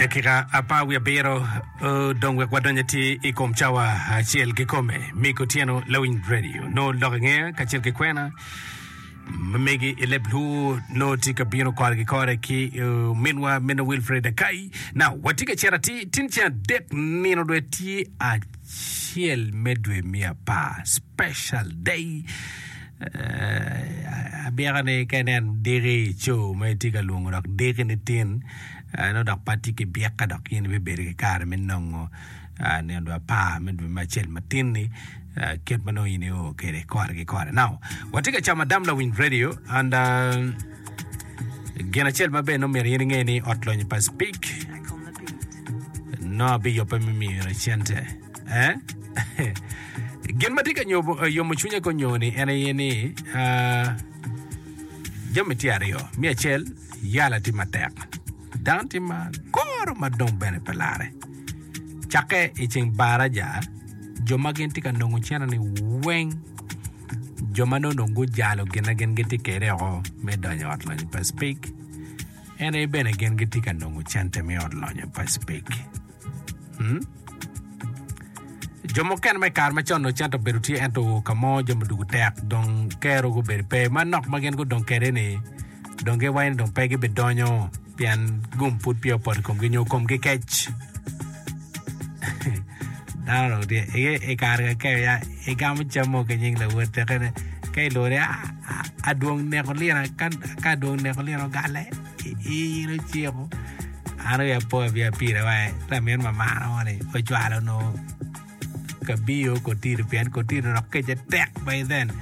Dakika apar wiye abiro odong wek wadony atir i kom cawa acel kikome. Mic otyeno lawiny radio nongo lok inge kacel ki kwena ma megi i leb Luo nongo tye ka bino kore ki kore ki uh, minwa minna Wilfred Akai. Now, watye ka cito atir tin ceng adek nino dwe tye acel me dwe me apar special day. Uh, abyeka ni ka inen diki i co ma itye ka lwongo dok diki ni tin uh, nongo dok pa tye ki byeka dok in ibibedo ki kare me nongo uh, nino dwe apar me dwe me acel matin-ni uh, kit ma nongo in io kwede kore ki kore. Now, watye ka camo adam lawiny radio and uh, gin acel ma bene nongo myero in inge ni ot lonyo pa Speak nongo abiyubbe me miyo cente. Eh? Gin ma tye ka nyobo- yomo cwinya ko nyo-ni en aye ni ah, jami tye aryo. Me acel, yala tye matek. Dano tye ma goro ma dong bene pe larre. Cakke i ceng baraja, jo ma gin tye ka nongo cente-ni weng, jo ma nongo dong gujalo gin ma gin gitye kwede oko me donyo i ot lonyo pa Speke, en aye bene gin gitye ka nongo cente me ot lonyo pa Speke. Hmm? Jo mukene ma i kare macon onongo cente obedo tye ento ka mo jami odwogo tek dong kero gubedo pe manok ma gin gudong kwede-ni dong giwaco ni dong pe gibidonyo pien gum pud peya opoto i komgi nyo komgi kec. Dano dong tye i i kare ka keyo ya igamo cam mo ki nying lawot tekene ka ilwongo ni "Ah, ah, adwong neko lina ka ka adwong neko lina ogale in ociko an aye apo abiya pire wa lamin mamana mo ni ocwalo onongo kabiyo kotiro pien kotiro dok kece tek by then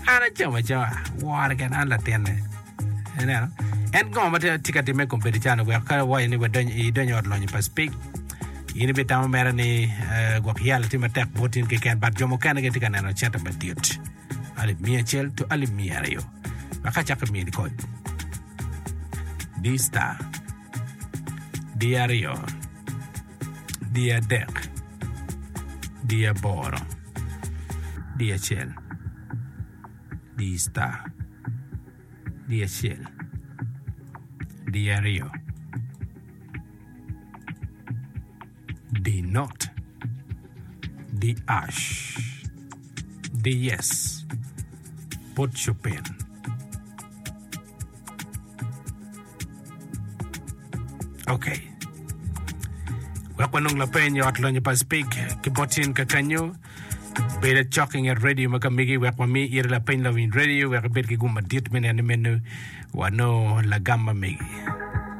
an acamo acama wore keken an latinne ineno en ngo ma tye ka timme i kom bedo calo wek ka iwaco ni wadony idonyo i ot lonyo pa spik in ibitamo mere ni eh, gwok yalo tye matek bot in keken but jo mukene gitye ka neno cente madit alip miya acel to alip miya aryo wek acak mini kony di star di aryo di adek di aboro di acel di star di acel di aryo di not di ash di yes put your pin. Ok. Wek wanong lapeny i ot lonyo pa Spik ki bot in kakanyo. Bed acok i nget radio ma ka megi wek wami ire lapeny lawiny radio wek ibed ki gum madit me neno ni meno wanongo lagam ma megi.